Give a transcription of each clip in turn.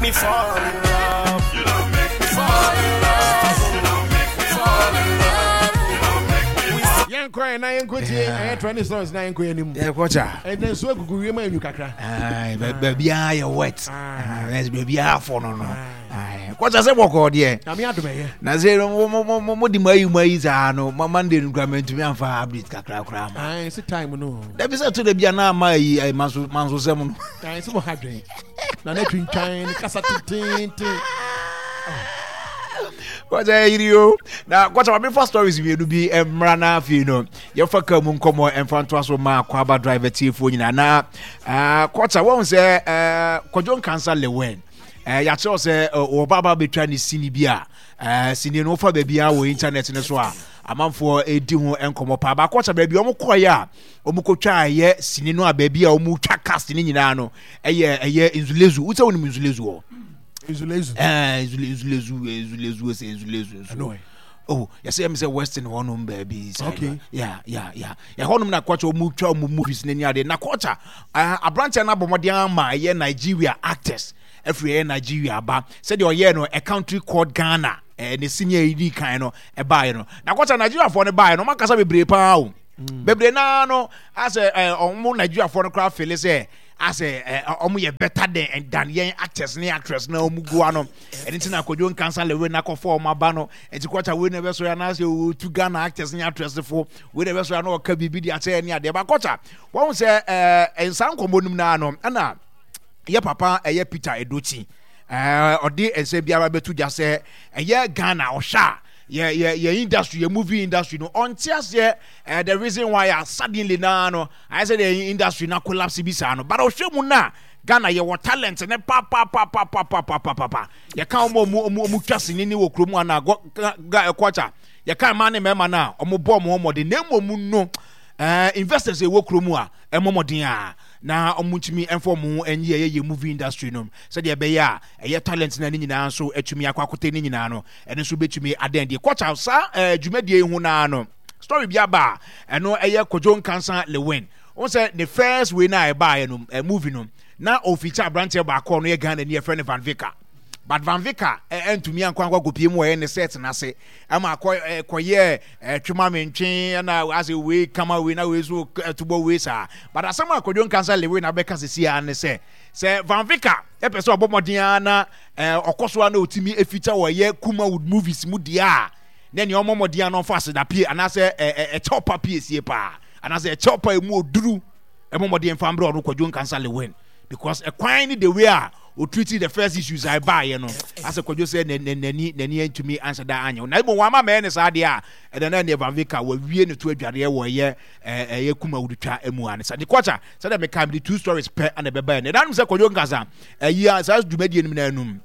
me fall in love. You don't make me fall in love. You don't make me fall in love. You don't make me fall. Yɛn kɔ yɛn na yɛn kɔ tie ɛyɛ trending songs na yɛn kɔ yɛn anim. Yɛ kɔ kya. Ɛnna nsuo agugu wiem anyu kakra. Baabi a yɛ wet. Baabi a afɔ no no. Kɔsa sɛ bɔkɔɔ deɛ. Nyame adom ɛyɛ. Na sɛ mo mo mo mo mo di mo ayi mo ayi saa no ma Monday no kura mɛntumi anfa update kakra koraa ma. Ayi si time no. Dabi sɛ to da bi a na ama ayi ayi manso manso sɛm no. Ayi sɛ mo ha dwen. Na na twintwan ne kasa tententen. Kɔsa yiri o. Na kɔsa ma mefa stories mmienu bi mmra na afei no yɛfa kaa mu nkɔmmɔ ɛmfa ntoa so ma Kwaba driver tiefoɔ nyinaa na kɔsa wɔn sɛ Kwadwo Nkansa Lewin Eh, yɛakyerɛw sɛ eh, wɔba ba bɛtwa ne sini bi a eh, sini no wofa baabiara wɔ internet no so a amanfoɔ ɛdi ho nkɔmmɔ paa baakɔ sɛ baabi wɔn kɔeɛ a wɔn kɔtwa ɛyɛ sini no a baabi a wɔn twa cast no nyinaa no ɛyɛ ɛyɛ nzulezu wosɛ wonim nzulezu hɔ nzulezu ɛɛ nzulezu nzulezu sɛ nzulezu nso oh yɛsɛ yɛm sɛ western hɔnom baabi sɛ okay ya ya ya ɛhɔnom na kɔkya wɔn twa wɔn movies n'ani adeɛ na kɔkya aberanteɛ no abɔ mmɔden ama ɛyɛ Nigeria actors afiri ɛyɛ Nigeria aba sɛdeɛ ɔyɛɛ no a country called Ghana ɛɛ ne senior yi di kan no ɛbaeɛ no na kɔkya Nigeriafoɔ no baeɛ no wɔn akasa bebree paa o bebree naa no asɛ ɛɛ wɔn Nigeriafoɔ no koraa fele sɛ asɛ ɛɛ wɔn yɛ better than than yɛn actors ne actress na wɔn gu ano ɛne ti na Kwadwo Nkansah Lewin akɔfɔ wɔn aba no ɛti kɔkya wei na ɛbɛsɔre anaasɛ wɔtu Ghana actors ne actress fo wei na ɛbɛsɔre ana ɔka biribi de akyerɛ ne adeɛ ba kɔkya wɔn sɛ ɛɛ nsa nkɔmɔ num naa no ɛna yɛ papa ɛyɛ Peter Edochi ɛɛ ɔde nsɛm biara bɛto dwa sɛ ɛyɛ Ghana ɔhwɛ a yɛ yɛ yɛ industry yɛ movie industry no ɔnte aseɛ ɛɛ the reason why a suddenly naa no ayɛ sɛ the industry na collapse bi saa no but ɔhwɛ mu na Ghana yɛwɔ talent ne papapapapapapapa yɛka wɔn a wɔn wɔn twa sini ne wɔ kurom ana gɔ ga ɛkɔkya yɛka mmaa ne mmarima no a wɔn bɔ wɔn mmɔden na mmom no ɛɛ investors ɛwɔ kurom a ɛmɔ mmɔden a na wɔn ntumi mfa wɔn ho nyi ɛyɛ yɛ movie industry no sɛdeɛ ɛbɛyɛ a ɛyɛ talent na ne nyinaa nso atumi akɔ akote ne nyinaa no ɛno nso bɛtumi adan die kɔkya saa ɛɛ dwumadie yi ho naa no story bi aba a ɛno ɛyɛ Kojo Nkansa Lewin wɔn sɛ ne first wei na ɛbaeɛ no ɛ movie no na ɔfeature aberanteɛ baako a ɔno yɛ Ghana ni yɛfrɛ no Van Vicker but Van Vicker ɛntumi ankɔ ankɔ akɔpie mu ɔyɛ ne set n'ase ɛma akɔ ɛkɔyɛ ɛtwema mentwe ɛna asɛ wei kama wei na wei so ɛtobɔ wei saa but asɛm a Kwadwo Nkansah Lewin abɛka sisi ara ne sɛ sɛ Van Vicker ɛpɛ sɛ ɔbɔ mmɔden ara na ɔkɔ so ara na ɔtumi ɛfeature wɔ ɛyɛ Kumawood movies mu deɛ a na nea ɔmmɔ mmɔden ara na ɔmfa aseda pie anaasɛ ɛkyɛw pa pie sie paa anaasɛ ɛkyɛw pa emu oduru ɛmɔ mmɔden mfa mbrɛ ɔno Kwadwo Nkansah Lewin because ɛkwan ne the way a ɔtreat the first issues a ɛbaeɛ no asɛ Kwadwo sɛ n'ani n'ani antumi anhyɛ da anyɛ na mmom wama mɛyɛ ne saa deɛ a ɛnɛ na ɛne Van Vicker wawie ne to adwareɛ wɔ ɛyɛ ɛyɛ Kumawood twa mu a ne sa de kɔkya sɛdeɛ meka mede two stories pɛ ana ɛbɛbaeɛ no ɛdanom sɛ Kwadwo Nkansah ɛyi a saa dwumadie no mu no anum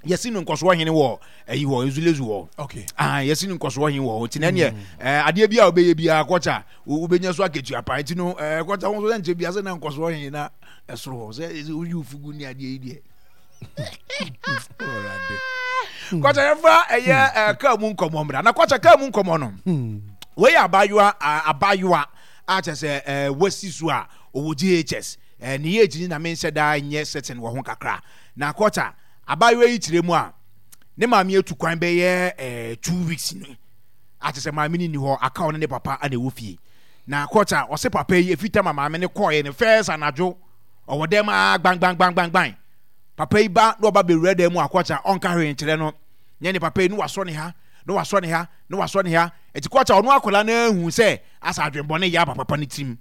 yɛsi no nkɔsoɔ hene wɔ ɛyi hɔ nzulezu hɔ okay ah yɛsi no nkɔsoɔ hene wɔ hɔ nti na ɛneɛ ɛɛ adeɛ bi a wobɛyɛ biara kɔkya wobɛnya so akatua pa nti no ɛɛ kɔkya wɔn nso sɛ nkyɛn bi ase na nkɔsoɔ hene na ɛsoro hɔ sɛ woyi fugu ne adeɛ yi deɛ kɔkya yɛfa ɛyɛ ɛɛ kaa mu nkɔmɔ mmra na kɔkya kaa mu nkɔmɔ no wei yɛ abaayewa abaayewa a kyɛ sɛ ɛɛ wasi so a ɔwɔ JHS ɛɛ ne yɛ gyini na menhyɛ daa nyɛ certain wɔ ho kakra na kɔkya Abaayewa yi kyerɛ mu a, ne maame atu kwan bɛyɛ eh, 2 weeks ni. Ate sɛ maame no nni hɔ, aka ɔne ne papa na ɛwɔ fie. Na kɔta ɔse papa yi efi tam a maame no kɔɔeɛ no first anadwo ɔwɔ dɛm a gbangbangbangbangban. Papa yi ba na ɔba bɛwura dan mu a kɔta ɔnka hwee nkyerɛ no. Nyɛ ne papa yi na wasɔ ne ha, na wasɔ ne ha, na wasɔ ne ha. Eti kɔta ɔno akwadaa no ahu sɛ asa adwenbɔne yɛ aba papa no tirim.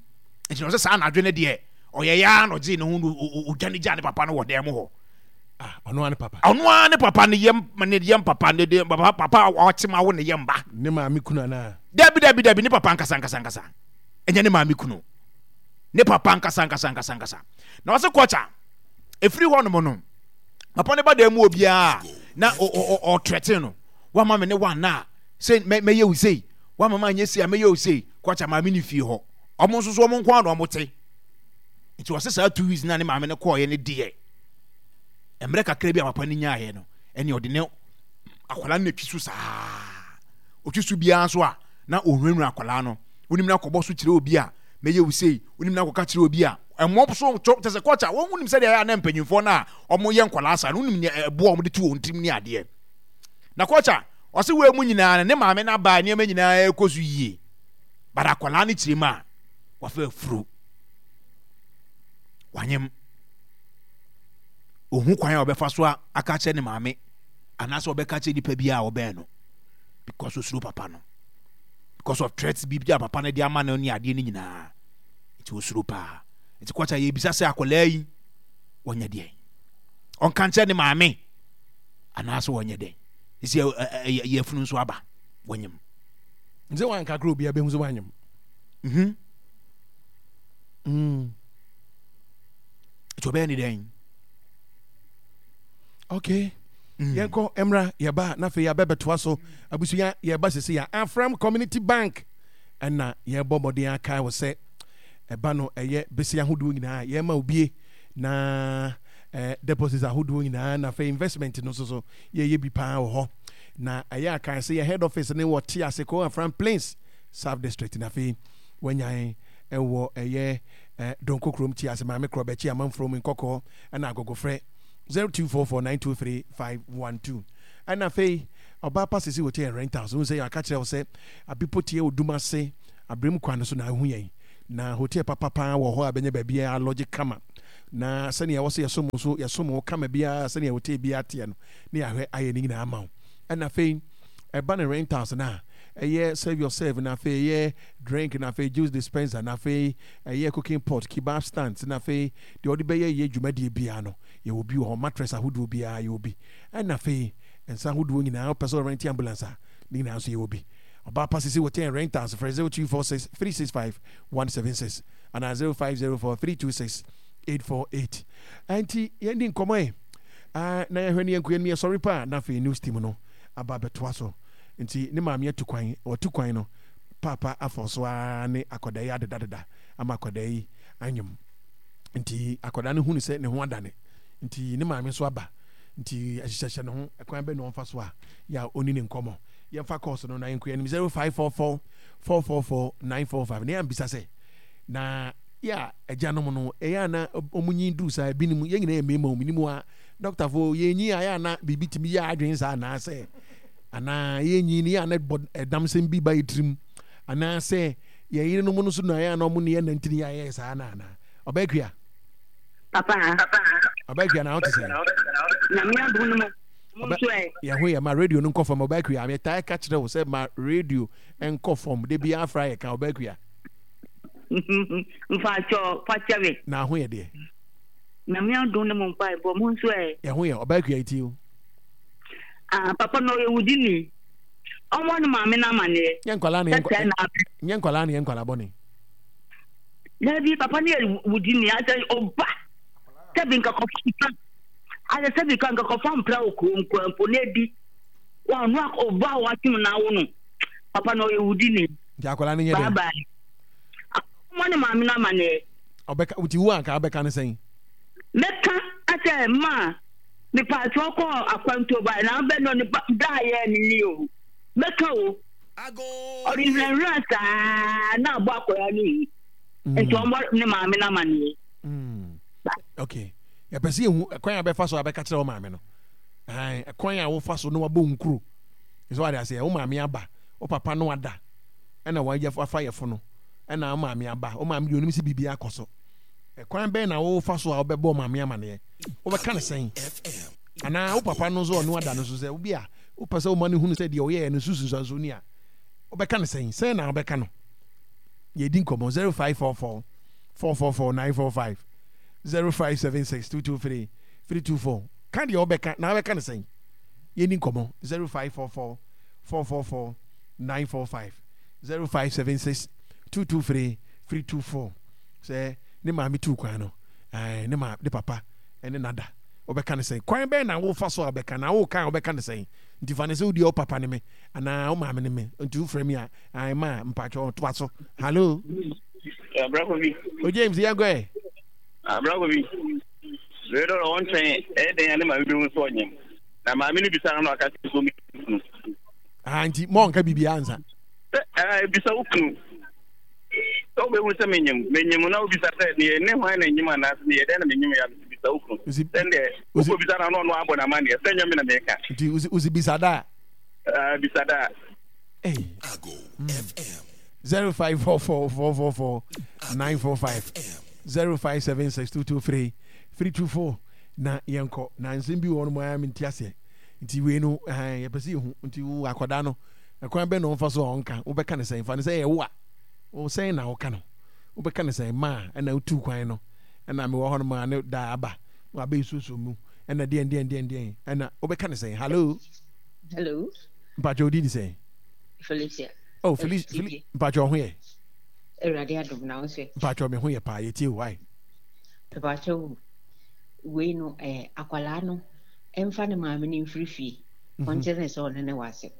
Nti na ɔsɛ saa anadwo no deɛ ɔyɛ ya na ɔgyee ne ho no ɔdwane gyaa ne papa no wɔ dan mu hɔ. Ah, ɔno ara ne papa. Ɔno ara ne papa ne yam ne yam papa ne de papa papa a ɔte ma wo ne yam ba. Ne maame kunu anaa? Dabi dabi dabi ne papa nkasa nkasa nkasa. Ɛnyɛ ne maame kunu. Ne papa nkasa nkasa nkasa nkasa. Na ɔse kɔkya efiri hɔ nom no papa ne ba dan mu obiara na ɔtrɛte no wama me ne wana a sɛ mɛyɛ wo sei wama ma anyɛ sei a mɛyɛ wo sei kɔkya maame ne fie hɔ ɔmo nso so ɔmo nko ara na ɔmo te nti ɔse saa 2 weeks na ne maame no kɔɔyɛ ne deɛ mmerɛ kakra bi a papa no nyaeɛ no ɛne ɔde ne akwadaa no natwi so saa ɔtwi so biara nso a na ɔhunahuna akwadaa no wonim no akɔbɔ so kyerɛ obi a mɛyɛ wo sei wonim no akɔka kyerɛ obi a Ɛmɔ so twɔ kyɛ sɛ kɔkya wɔn wonim sɛdeɛ ɛyɛ a na mpanyinfoɔ no a wɔyɛ nkwadaa saa no wonim nea ɛboa wɔn de to wɔn tirim ne adeɛ. Na kɔkya ɔse wei mu nyinaa no ne maame no abaa nneɛma nyinaa ɛkɔ so yie but akwadaa no kyerɛ mu a wafa afuro wanyem ohu kwan a ɔbɛfa so aka kyerɛ ne maame anaasɛ ɔbɛka kyerɛ nipa bi a ɔbɛn no because osuro papa no because of threats bi a papa no de ama no ne adeɛ no nyinaa nti osuro paa nti kɔkya yɛbisa sɛ akwadaa yi wɔnyɛ deɛ ɔnka nkyerɛ ne maame anaasɛ wɔnyɛ dɛn ɛsi yɛfunu nso aba wɔnyem sɛ wanka kora obiara bɛhu sɛ wanyem mhm. Nti ɔbɛyɛ ne dɛn? Okay. Yɛnkɔ mmra yɛba na afei yɛabɛbɛtoa so abusua yɛba sisi yɛ Afram Community Bank ɛna yɛbɔ mmɔden akae wo sɛ ɛba no ɛyɛ bese ahodoɔ nyinaa yɛma obie na eh, deposits ahodoɔ nyinaa na afei investment no nso so yɛyɛ bi paa wɔ hɔ na ɛyɛ akae sɛ yɛ head office ne wɔ te ase ko Afram Plains South District na afei wanyan ɛwɔ ɛyɛ eh, Donko kurom te ase maame korɔ bɛkyi amanforo mu nkɔkɔɔ ɛna agogofrɛ 0244923512 ɛna afei ɔbaa pa sisi hotel and rentals wohu sɛ yɛaka kyerɛ wo sɛ abipo tie odum ase abrem kwan no so na ahu yɛn na hotel papa paa wɔ hɔ a bɛnya baabi a lɔgye kama na sɛnea ɛwɔ sɛ yɛsom so yɛsom wo kama biara sɛnea hotel biara teɛ no ne yɛahwɛ ayɛ ne nyinaa ama wo ɛna afei ɛba ne rentals no a ɛyɛ serve yourself na afei ɛyɛ drink na afei juice dispenser na afei ɛyɛ cooking pot kebab stands na afei deɛ ɔde bɛyɛ yɛ dwumadie biara no yɛwɔ bi wɔ hɔ mattress ahodoɔ biara yɛwɔ bi ɛna afei nsa ahodoɔ nyinaa wopɛ sɛ ɔrente ambulance a ne nyinaa nso yɛwɔ bi ɔbaa pa sisi hotel rentals frɛ 0246 365 176 anaa 0504 326 848 ɛnti yɛndi nkɔmmɔ ɛ na yɛhwɛ ne yɛnko yɛn yɛsɔre pa a na afei news team no aba abɛtoa so nti ne maame atu kwan watu kwan no paapa afɔ so ara ne akwadaa yi adedadeda ama akwadaa yi anyem nti akwadaa no hunu sɛ ne ho adane nti ne maame nso aba nti ɛhyehyɛhyɛ ne ho ɛkwan bɛ na ɔmfa so a yɛ a ɔni ne nkɔmmɔ yɛmfa kɔɔso no na yɛnkɔ anim 0544 444 945 na yɛambisa sɛ na yɛ a agyanom no ɛyɛ ana ɔmo nyin duru saa ebinom yɛn nyinaa yɛ mmarima ɔmo nim a dɔktafo yɛnyin a yɛ ana biribi tumi yɛ adwene saa anaasɛ anaa yɛnyin no yɛ ana bɔ ɛdam sɛm bi ba yɛ tirim anaasɛ yɛn yerenom no so na yɛ ana ɔmo ne yɛ nantini yɛ ayɛ saa na ana ɔbɛkua Papa. Ɔbɛkua na wote sɛ. Nyame adom no mo nso ɛ. Yɛn ho yɛ ma radio no nkɔ fam ɔbɛkua. Metaa ka kyerɛ wo sɛ ma radio nkɔ fam de bi afra yɛ ka ɔbɛkua. Mfakyɛ fakyɛ me. Na ho yɛ deɛ. Nyame adom no mo mpaebɔ mo nso ɛ. Yɛn ho yɛ ɔbɛkua ti o. Ah papa na ɔyɛ wudini. Ɔmmɔ ne maame no amaneɛ. Nyɛ nkwalaa na yɛ nkwalaa na yɛ nkwalaa bɔne. Dabi papa no yɛ wudini asɛ ɔba sɛbi nkakɔfa mpra asɛ sɛbi ka nkakɔfa mpra wɔ kurom kura mpo na ebi wɔn ano ɔba a wɔatwem na awo no papa no ɔyɛ wudini. Nti akwadaa no nyɛ dɛ. Bye bye. Ɔmɔ ne maame no amaneɛ. Ɔbɛka nti wo anka abɛka ne sɛn. Mɛka asɛ maa mepaakyɛw kɔ akwantuo ba na abɛ no ne ba da yɛ ne ni o mɛka o. Ɔde nhwiranhwiran saa na abɔ akwadaa no hu. Mm. Nti ɔmmɔ ne maame no amanneɛ. Mm. Okay. Yɛpɛ sɛ yɛhu ɛkwan a bɛfa so a bɛka kyerɛ wo maame no. Ɛkwan a wofa so na wabɔ nkuro. Sɛ wade aseɛ, wo maame aba, wo papa no ada, ɛna wayɛ wafa yɛfo no, ɛna wo maame aba, wo maame deɛ onim sɛ biribi akɔ so. Ɛkwan bɛn na wofa so a wobɛbɔ maame amaneɛ? Wobɛka ne sɛn? Anaa wo papa no nso ɔno ada no so sɛ obi a wopɛ sɛ woma no hunu sɛ deɛ ɔyɛɛ no so nsunsuansoɔ ni a, wobɛka no sɛn? Sɛn na wobɛka no? Yɛdi nkɔmmɔ 0544 444 945 0576 223 324 Ka deɛ wobɛka na wobɛka no sɛn? Yɛni nkɔmmɔ 0544 444 945 0576 223 324 Sɛ ne maame tuu kwan no, ne ma ne papa ne nada wobɛka no sɛn? Kwan bɛn na wofa so a wobɛka na woka a wobɛka no sɛn? Nti fa no sɛ wodeɛ wo papa ne me anaa wo maame ne me nti wofrɛ me a ae ma mpakyɛ ɔtoa so. Hallo? Abrakobi. O James yɛnkɔ ɛ. Abrakobi. Wei dɔ wɔn twɛn ɛyɛ dɛn ne maame bi ho so ɔnyem. Na maame no bisa no na ɔka sɛ so mi kunu. Ah nti mo nka biribi ansa. Sɛ ɛɛ bisa wo kunu. Sɛ wobɛhu sɛ menyem, menyem na wobisa sɛ meyɛ ne hwan na nyem anaasɛ meyɛ dɛn na menyem yɛ a, mese bisa wo kunu. Sɛndeɛ wokɔbisa no a na ɔno abɔ no amanneɛ sɛ nyɛ me na meka. Nti wosi bisa da a? Bisa da a. Hey. Mm. 0544 444 945 0576 223 324 na yɛnkɔ na nsɛm bi wɔ hɔ no mu ara mente aseɛ nti wei no yɛpɛ sɛ yɛhu nti wo akwadaa no ɛkwan bɛn na ɔmfa so a ɔnka wobɛka ne sɛn fa ne sɛ ɛyɛ wo a wo sɛn na woka no wobɛka ne sɛn ma a ɛna wotu kwan no ɛna mewɔ hɔ no ma ne da aba na wabɛyɛ suosuo mu ɛna deɛn deɛn deɛn deɛn ɛna wobɛka ne sɛn hallo hello mpakyɛ wodi ne sɛn Felicia oh Felicia mpakyɛ ɔho yɛ Awurade adom na wo sɛ mpakyɛ me ho yɛ paa yɛtie wo ae mpakyɛ wo wei no eh, akwalaa no ɛmfa ne maame no mfiri fie ɔnkyerɛ ne sɛ ɔne ne wɔ asɛm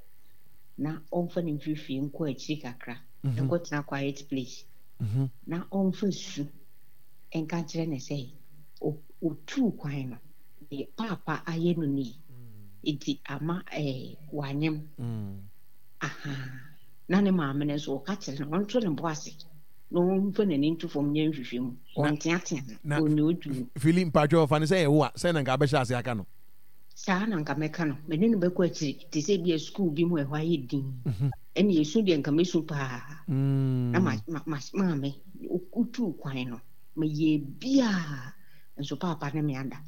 na ɔmfa no mfiri fie nkɔ akyiri kakra mhm. nkɔtena quiet place mhm. na ɔmfa su nka nkyerɛ ne sɛ ɔtuu kwan no deɛ paapa ayɛ no nie mm. nti ama eh, wanyem mm. aha na ne maame no nso ɔka kyerɛ no ɔnto ne bo ase na ɔmfa n'ani nto fam nyɛ nhwehwɛ mu ɔnteatea no ɔnyɛ odwuma fili mpatwɛ ɔfa ne sɛ ɛwo a sɛ na nka abɛhyɛ ase aka no Saa na anka mɛka no. Me ne no bɛkɔ akyiri te sɛ ebia sukuu bi mu a ɛhɔ ayɛ dinn. Ɛnna esu deɛ anka mɛsu paa. Na ma ma ma maame wotuu kwan no, meyɛɛ biara nso paapa ne me ada.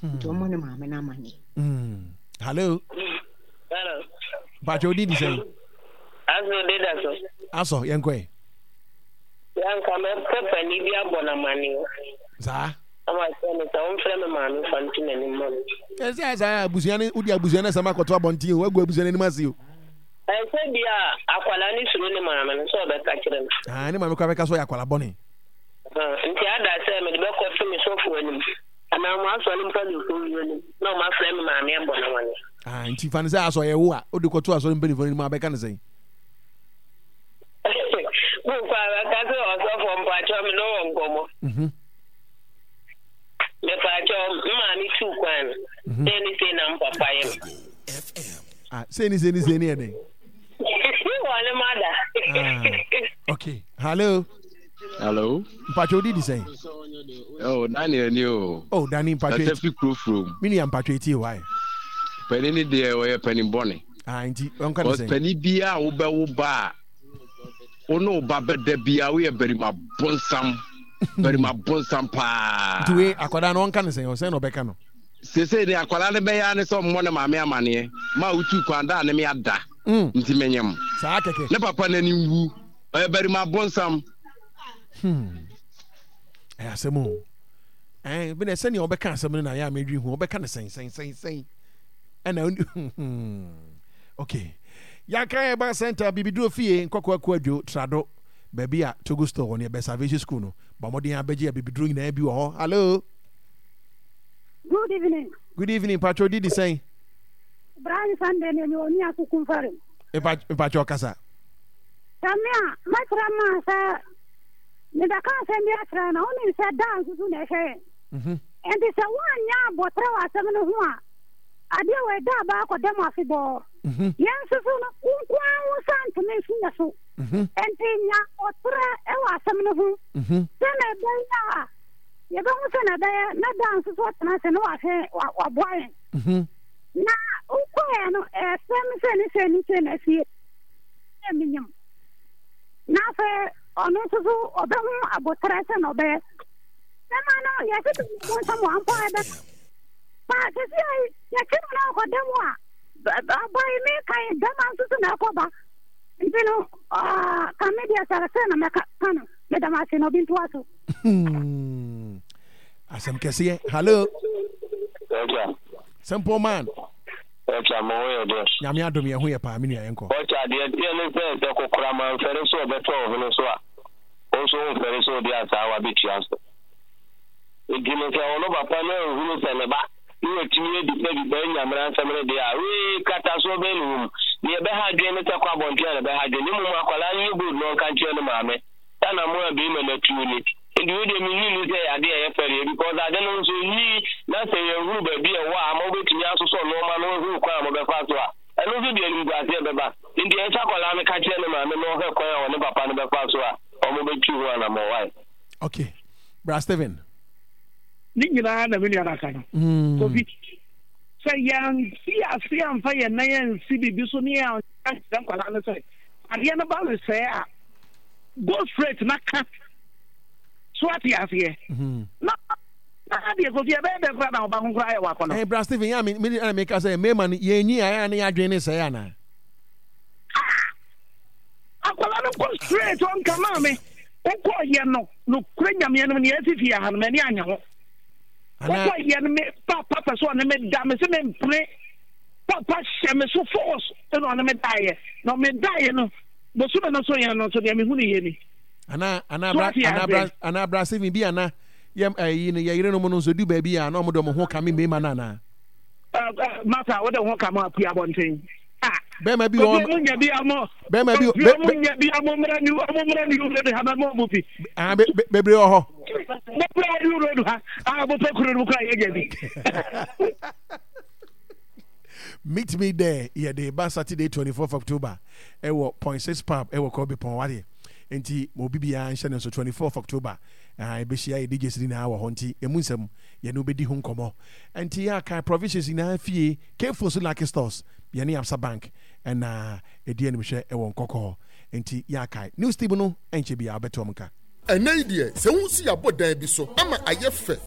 Nti ɔmmɔ ne maame no amanneɛ. Hello. Hello. Mpakyɛ odi di sɛn? Aso de da so. Asɔ yɛn kɔ yɛ. Yanka mɛpɛ panin bi abɔ no amanneɛ. Saa. Na makyerɛ no sɛ ɔmfrɛ me maame mfa nto n'anim mma me. Ɛsɛ saa abusua no wode abusua no asɛm akɔto abɔnten o wagu abusua no anim ase o. Ɛsɛ bi a akwadaa no suro ne maame no sɛ ɔbɛka kyerɛ no. Ah, ne maame koraa bɛka sɛ ɔyɛ akwadaa bɔne. Nti ada sɛ mede bɛkɔto me sɔfo anim anaa mo asɔre mpanimfoɔ bi anim na ɔmo afrɛ me maame abɔ no amanneɛ. Ah, nti fa no sɛ asɔ yɛ wo a wode kɔto asɔre mpanimfoɔ no anim a bɛka no sɛn? Mo kɔ a bɛka sɛ ɔsɔfoɔ mpakyɛw me ne wɔ nkɔmmɔ. Mhm. Mepaakyɛw, me maame tuu kwan no, mhm. sei ne sei na me papa yɛ me. Ah, sei ne sei ne sei ne yɛ dɛn? Wɔne ma da. Ah, okay, hello. Hello. Mpakyɛw odi di sɛn? Oh, Daniel ni o. Oh, Danny mpakyɛw. Kasa fi kuro furom. Mi nua mpakyɛw eti o ayi. Panin ni deɛ ɔyɛ panin bɔne. Ah, nti ɔnka ne sɛn? Panin biara a wobɛwo ba a. Wo ne wo ba bɛda biara woyɛ barima bonsam barima bonsam paa. Nti wei akwadaa no ɔnka ne sɛn ɔsɛn na ɔbɛka no. Sese ne akwadaa no bɛyɛ ne sɛ ɔmmɔ ne maame amaneɛ ma wotu kwan da a ne me ada mm. nti menyem. Saa kɛkɛ. Ne papa n'ani nwu ɔyɛ barima bonsam. Hmm. Ɛyɛ asɛm o. Ɛn bi na sɛnea ɔbɛka asɛm no na ayɛ a medwi ho ɔbɛka ne sɛn sɛn sɛn sɛn ɛna hmm. Okay. Yɛaka Herbal Center, Bibiduro Fie, Nkɔkɔ Akuadwo, Trado, baabi a Togo Store wɔ no, yɛbɛn Salvation School no. Bɔ mmɔden ara bɛgye abibiduro nyinaa bi wɔ hɔ. Hello. Good evening. Good evening, Patro Didi sɛn? Brian Sunday ne mi oni akuku mfare. Mpacho kasa. Sɛ me a, mɛkyerɛ maa sɛ mebɛka asɛm bi akyerɛ na wonim sɛ daa nsusu na ɛhwɛ yɛn. Mhm. Enti sɛ woanyɛ abɔterɛ wɔ asɛm no ho a, Adeɛ wei da aba akɔda mu afebɔɔ. Mhm. Yɛn nso so no, wo nko ara wo nsa ntumi nso yɛ so. Mhm. Enti nya ɔtrɛ wɔ asɛm no ho. Mhm. Sɛnea ɛbɛyɛ a yɛbɛhu sɛ na ɛbɛyɛ na da nso so atena ase na wahwɛ waboa yɛn. Na wokɔɛ no ɛsɛm sɛ ne sɛ ne sɛ na asie sɛ menyam. Na afei ɔno nso so ɔbɛho abotrɛ sɛ na ɔbɛyɛ. Bɛma no yɛsɛ sɛ nsɛm wɔ ampa ɛbɛka. Pa sisi ayi yɛkye no na ɔkɔda mu a ɔba yi me kan bɛma nso so na ɛkɔba nti no ka me deɛ sɛ sɛ na mɛka ka no meda m ase na obi ntoa so. Hmm. Asɛm kɛseɛ. Hello. Simple man. Ɔkya mo ho yɛ dɛ. Nyame adom yɛn ho yɛ paa me nua yɛnkɔ. Ɔkya deɛ teɛ ne sɛ sɛ kokora manfɛre so ɔbɛtɔ ɔhene so a wo nso womfɛre sɛ ɔde asaawa bɛtua so. Enti no sɛ ɔno papa no anhunu sɛ ne ba ne watumi abisabisa anya mmaransɛm no deɛ a, wee, katasoɔ bɛn na ɛwɔ mu? Deɛ ɛbɛha adwene ne sɛ kɔ abɔnten a na ɛbɛha adwene, na mmom akwadaa no nyɛ bold na ɔnka nkyerɛ ne maame sɛ anammɔn a barima no atuo ni. Enti wei deɛ mennye nni sɛ ɛyɛ adeɛ a ɛyɛ fɛreɛ because ade no nso nni na sɛ yɛnhunu baabi a ɛwɔ a ama wobɛtumi asosɔ nnoɔma no ahunu kwan a mobɛfa so a. Ɛno nso de animguaseɛ bɛba. Nti ɛsɛ sɛ akwadaa no ka kyerɛ ne maame na ɔhwɛ kwan a ɔne papa no bɛfa so a wɔbɛtu ho anammɔn. Wai? Okay. Bra Steven. Ne nyinaa na me nua no aka no. Mm. Kofi, sɛ yɛansi ase amfa yɛn nan ansi biribi so ne yɛankyerɛ nkwadaa no sɛ adeɛ no ba resɛe a, go straight na ka. So ate aseɛ? Mm-hmm. Na na adeɛ Kofi ɛbɛyɛ dɛ koraa na ɔba ho koraa yɛ wakɔnɔ. Ɛɛ bra Stephen yɛ a me me ɛna meka sɛ mmarima no yɛn nyi ayɛ a ne yɛ adwene ne sɛe anaa. Ah! Akwadaa no kɔ straight ɔnka maame wokɔ yɛ no nokorɛ nyameɛ no nea asi fie ha no m'ani anyɛ ho. Wokɔ yɛ no me papa pɛ so ɔne me da me se me mpene papa hyɛ me so force ɛna ɔne me daeɛ na ɔme daeɛ no bosome no so yɛn no nso deɛ mehu ne yɛ ni. Ana ana bra ana bra ana bra Stephen bi ana yɛ ɛyi no yɛ yerenom no nso du baabi a na wɔn de wɔn ho kame mmarima no anaa. Masa wode ho kame apue abɔnten. Bɛrima bi wɔ ɔmo nya bi ɔmo bɛrima bi ɔmo nya bi ɔmo mmra ni ɔmo mmra ni road ha bɛma ɔmo bi. Ah bebree wɔ hɔ. Bebree wɔ new road ha a mo pɛ kuro no mu kura yɛ nya bi. Meet me there yɛde ba Saturday 24th October ɛwɔ Point Six Pub ɛwɔ Kɔbi Pɔn wadeɛ nti ma obi biara nhyɛ ne nso 24th October. Ahaa yɛbɛhyia yɛ DJs no nyinaa wɔ hɔ nti ɛmu nsɛm yɛne wo bɛdi ho nkɔmmɔ. Nti yɛ akae provisions nyinaa fie, K-Fo so Lucky Stores, yɛne Absa Bank ɛna ɛdi animhwɛ ɛwɔ Nkɔkɔɔ. Nti yɛ akae. News team no ɛnkyɛ biara wobɛte wɔn nka. Ɛnnɛ yi deɛ, sɛ wohu sɛ yɛabɔ dan bi so ama ayɛ fɛ.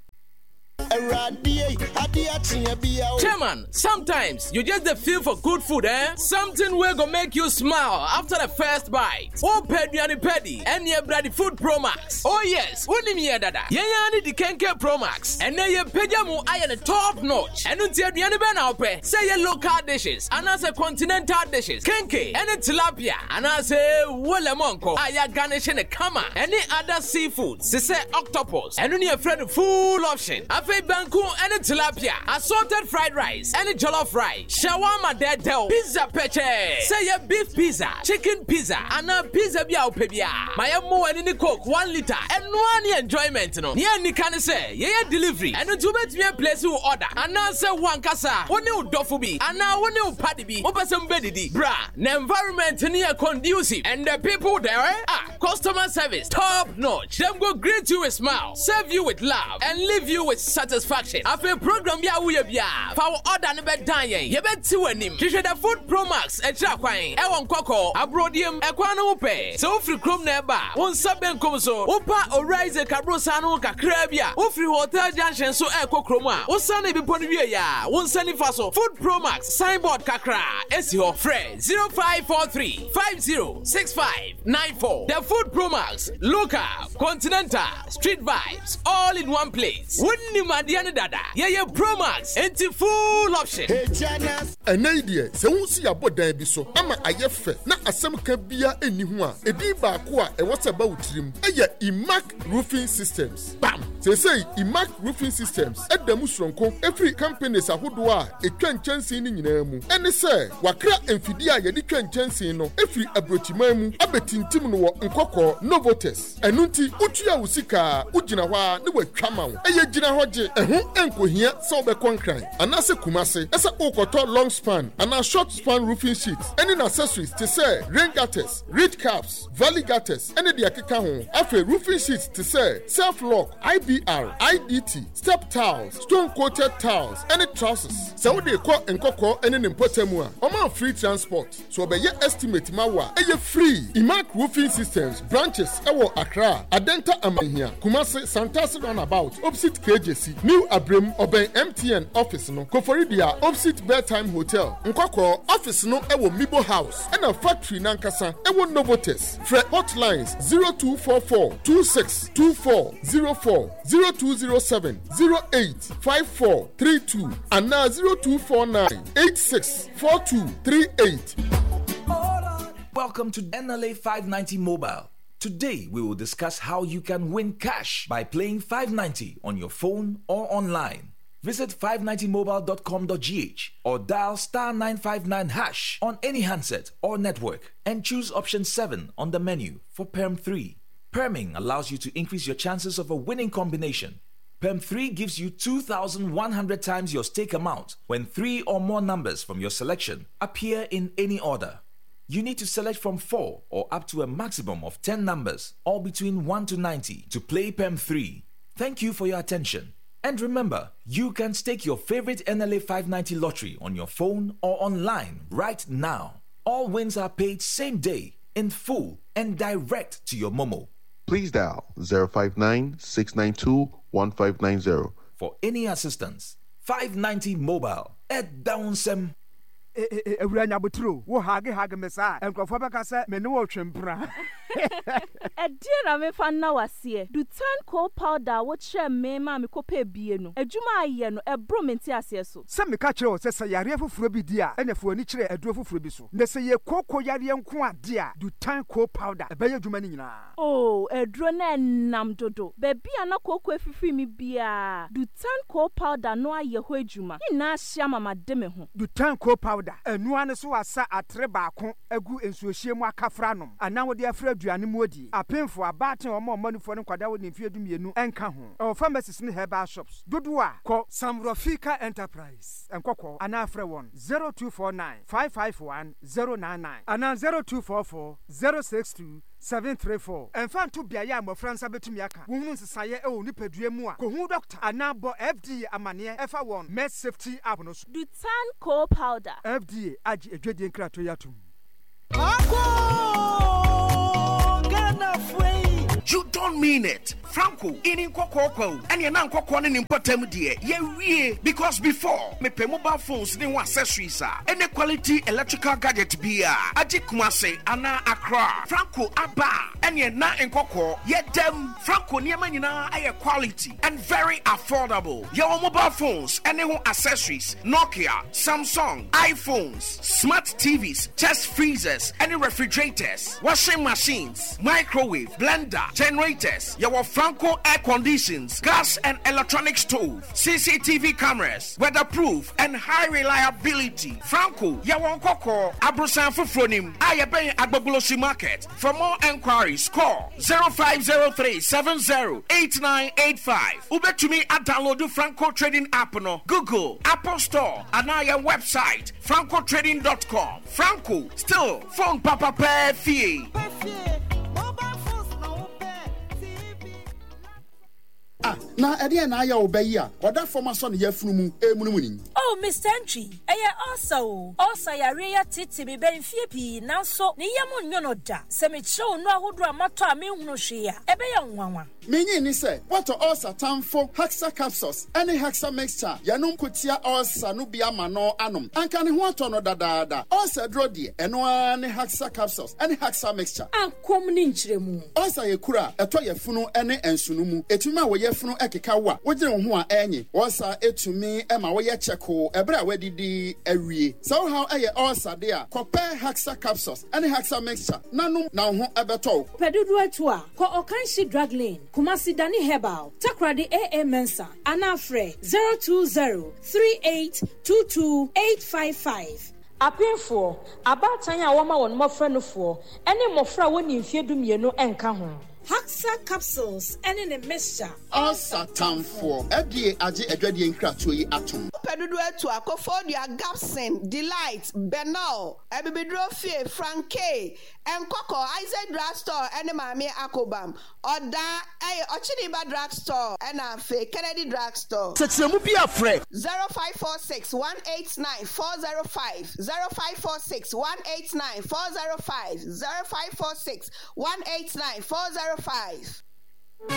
Chairman, sometimes you just dey feel for good food eh? Something wey go make you smile after the first bite. Wopɛ aduane pa di? Ɛneɛ bra di Food Pro Max. Oh yes, wonim yɛn dada. Yɛn ara ne di Kenke Pro Max. Ɛnnɛ yɛpagya mu ayɛ no top notch. Ɛno nti aduane bɛn na wopɛ? Sɛ ɛyɛ local dishes anaasɛ continental dishes, kenke ɛne tilapia anaasɛ wolemɔnkɔ a yɛaganishe no kama ɛne other seafoods te sɛ octopus. Ɛno ne yɛfrɛ no full option. Afei banku ɛne tilapia, assorted fried rice ɛne jollof rice, shawarma dɛɛdɛw, pizza pɛkyɛɛ, sɛ ɛyɛ beef pizza, chicken pizza anaa pizza bi a wopɛ biara. Ma yɛmmɔ w'ani ne coke one litre. Ɛno ara ne enjoyment no. Nea ɛnni ka ne sɛ yɛyɛ delivery, ɛno nti wobɛtumi aplace wo order anaasɛ wo ankasa wo ne wo dɔfo bi anaa wo ne wo party bi mopɛ sɛ mobɛdidi. Bra na environment no yɛ conducive and the people there are customer service top notch. Dem go greet you with smile, serve you with love and leave you with satisfaction. Afei program bi a woyɛ biara, fa wo order no bɛdan yɛn, yɛbɛte w'anim. Hwehwɛ The Food Promax akyiri akwan ɛwɔ Nkɔkɔɔ, Aborɔdeɛm, ɛkwan no ho pɛɛ. Sɛ wofiri kurom na ɛreba a, wo nsa benkum so, wopa Owura Isaac aborosan no ho kakraa bi a, wofiri Hotel Junction so rekɔ kurom a, wosiane bepɔ no wieeɛ a, wo nsa nifa so, Food Promax signboard kakraa si hɔ. Frɛ 0543 50 65 94. The Food Promax, Local, Continental, Street Vibes, all in one place. Wonim adeɛ no dada. Yɛyɛ Promax, enti full option. Ɛnnɛ yi deɛ, sɛ wohu sɛ yɛabɔ dan bi so ama ayɛ fɛ na asɛm ka biara nni ho a, edin baako a ɛwɔ sɛ ɛba wo tirim yɛ Imac Roofing Systems. Bam! Seesei Imac Roofing Systems da mu soronko firi companies ahodoɔ a ɛtwa nkyɛnsee no nyinaa mu. Ɛne sɛ, wɔakra mfidie a yɛde twa nkyɛnsee no firi aburokyiman mu abɛtintim no wɔ Nkɔkɔɔ, Novotes. Ɛno nti, wotua wo sika a, wogyina hɔ ara na wɔatwa ma wo. Ɛyɛ gyina hɔ gye. Ɛho nkohia sɛ wobɛkɔ Nkran anaasɛ Kumase sɛ worekɔtɔ long span anaa short span roofing sheets ne n'accessories te sɛ rain gutters, ridge caps, valley gutters ne deɛ ɛkeka ho. Afei roofing sheets te sɛ self lock, IBR, IDT, step tiles, stone coated tiles ne trusses. Sɛ wode rekɔ Nkɔkɔɔ ne ne mpɔtam a, wɔma wo free transport. So ɔbɛyɛ estimate ma wo a, ɛyɛ free. Imac Roofing Systems branches wɔ Accra, Adenta Amanhia, Kumasi, Santase Runabout, opposite KJC, New Abrem, ɔbɛn MTN office no, Koforidua, opposite Bedtime Hotel, Nkɔkɔɔ, office no wɔ Mibo House, ɛna factory no ankasa wɔ Novotes. Frɛ hotlines 0244 26 24 04, 0207 08 54 32 anaa 0249 86 4238. Welcome to NLA 590 Mobile. Today we will discuss how you can win cash by playing 590 on your phone or online. Visit 590mobile.com.gh or dial star 959 hash on any handset or network and choose option 7 on the menu for Perm 3. Perming allows you to increase your chances of a winning combination. PEM 3 gives you 2,100 times your stake amount when three or more numbers from your selection appear in any order. You need to select from 4 or up to a maximum of 10 numbers, all between 1 to 90, to play PEM 3. Thank you for your attention. And remember, you can stake your favorite NLA 590 lottery on your phone or online right now. All wins are paid same day, in full, and direct to your Momo. Please dial 059 692 1590. For any assistance, 590 Mobile at Downsem. Awura nya aboterɛ o, wo hage hage me saa a, nkurɔfoɔ bɛka sɛ me ne wo retwe mpena. Ɛdeɛn na memfa nna wo aseɛ? Dutan coal powder a wokyerɛɛ me maa mekɔpɛɛ bie no, adwuma a ayɛ no, ɛboro me nteaseɛ so. Sɛ meka kyerɛ wo sɛ sɛ yareɛ foforɔ bi di a, ɛna fa w'ani kyerɛ aduro foforɔ bi so. Na sɛ yɛ kooko yareɛ nko a de a, Dutan coal powder ɛbɛyɛ adwuma no nyinaa. Oo, aduro no ɛnam dodo. Baabi a na kooko afifiri me biara, Dutan coal powder no ayɛ hɔ adwuma. Ne nyinaa ahyia ma made me ho. Dutan coal powder, ɛno ara ne so asa atere baako agu nsuohyeɛ mu akafra anom anaa wode afra aduane mu adie. Apemfoɔ, abaatan a wɔma wɔn anufoɔ ne nkwadaa a wɔdi mfeɛ dumienu nka ho. Ɛwɔ pharmacies ne herbal shops dodoɔ a. Kɔ Samrofika Enterprise, Nkɔkɔɔ anaa frɛ wɔn 0249 551 099 anaa 0244 062 734. Ɛmfa nto beaeɛ a mmɔfra nsa bɛtumi aka. Wohunu nsesaeɛ wɔ wo nipadua mu a, kɔhu dɔkta anaa bɔ FDA amanneɛ ɛfa wɔn MedSafety app no so. Dutan Coal Powder. FDA agye adwadie nkratoɔ yi atom. You don't mean it. Franco, ini nkɔkɔɔ kwa o. Ɛneɛ na nkɔkɔɔ ne ne mpɔtam deɛ, yɛwie. Because before, mepɛ mobile phones ne ho accessories a, ɛne quality electrical gadget biaa, agye Kumasi anaa Accra. Franco aba a, ɛneɛ na nkɔkɔɔ, yɛdam. Franco nneɛma nyinaa ɛyɛ quality and very affordable. Yɛwɔ mobile phones ɛne ho accessories, Nokia, Samsung, iPhones, smart TVs, chest freezers, ɛne refrigerators, washing machines, microwave, blender, generators. Yɛwɔ Franco air conditions, gas and electronic stove, CCTV cameras, weatherproof and high reliability. Franco, yɛwɔ nkɔkɔɔ, abrosan foforɔ nim, a yɛbɛn Agbogbloshie market. For more enquiries, call 0503 70 8985. Wobɛtumi adownload Franco Trading app no, Google, Apple Store, anaa yɛn website francotrading.com. Franco, still phone papa pɛɛ fie. Ah, na ɛdeɛn na ayɛ wo ba yi a ɔda fam asɔ ne yafunu mu remunimuni yi? Oh, Mister Antwi, ɛyɛ ulcer o. Ulcer yareɛ yi ateetee me bɛ mfeɛ pii, nanso ne yam nnwo no da. Sɛ mekyerɛ wo nnuro ahodoɔ a matɔ a menhunu hwee a, ɛbɛyɛ wo nwanwa. Minnye nni sɛ woatɔ ulcer tamfo Hexa Capsules ne Hexa Mixture a yɛnom ko tia ulcer no bi ama no anom. Anka ne ho atɔ no dadaada. Ulcer aduro deɛ, ɛno ara ne Hexa Capsules ne Hexa Mixture. Akɔm ne nkyerɛmu. Ulcer yɛ kuru a ɛtɔ yafunu ne nsono mu. Ɛtumi ma wo yafunu keka wo a wogyene wo ho a ɛnye. Ulcer tumi ma woyɛ kyɛkoo ɛberɛ a woadidi awie. Sɛ wo haw yɛ ulcer de a, kɔpɛ Hexa Capsules ne Hexa Mixture na nom na wo ho bɛtɔ wo. Pɛ dodoɔ atu a, kɔ Ɔkanhyi Drug Lane, Kumasi Dani Herbal, Takoradi AA Mensah anaa frɛ 020 3822 855. Apemfoɔ, abaatan a wɔma wɔn mmɔfra nufoɔ, ne mmɔfra a wɔnni mfeɛ dumienu nka ho. Haxa capsules ne ne mixture. Ulcer tamfoɔ. FDA agye adwadie nkratoɔ yi atom. Wopɛ dodoɔ atu a, Koforidua, Gabson, Delight, Benol, Abibiduro Fie, Frankay, Nkɔkɔ, Isaac Drug Store ne Maame Akobam, Ɔdaa, ɛyɛ Ɔkyeniba Drug Store ɛna afei Kennedy Drug Store. Sɛkyerɛmu bi a frɛ. 0546 189 405 0546 189 405 0546 189 405.